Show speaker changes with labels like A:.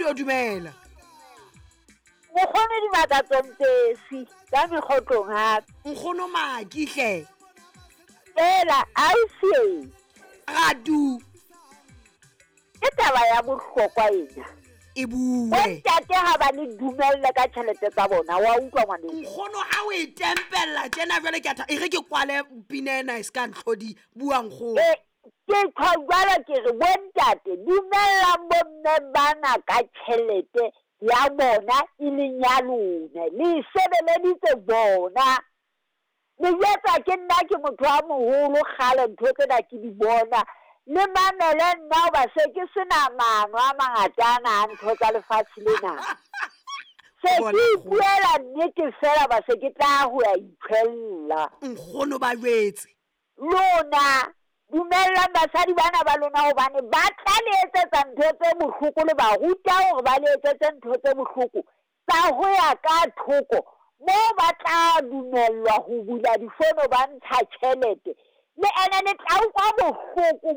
A: Tito dumela.
B: Mokgono Dimakatso Mpesi ka mekgotlong hape.
A: Nkgono Maki hle.
B: Fela ausi.
A: Radu.
B: Ke taba ya bohlokwa ena.
A: E bue.
B: Bontate ha ba le dumelle ka tjhelete tsa bona, wa utlwa ngwaneso?
A: Nkgono ha o e tempella tjena jwale ke a e re ke kwale pina ena e se ka ntlhodi. Bua nkgono.
B: E, ke tjho jwalo ke re bontate dumellang bomme bana ka tjhelete ya bona e leng ya lona. Le e sebeleditse bona. Le jwetsa ke nna ke motho a moholo kgale ntho tsena ke di bona. Le mamele nna hoba se ke sena maano a mangata ana a ntho tsa lefatshe lena. Se ke ipuela nnete fela ba se ke tla ho ya itshwella.
A: Nkgono ba jwetse.
B: Lona dumellang basadi bana ba lona hobane ba tla le etsetsa ntho tse bohloko, le ba ruta hore ba le etsetse ntho tse bohloko tsa ho ya ka thoko moo ba tla dumellwa ho bula difono ba ntsha tjhelete. Le ene le tla utlwa bohloko.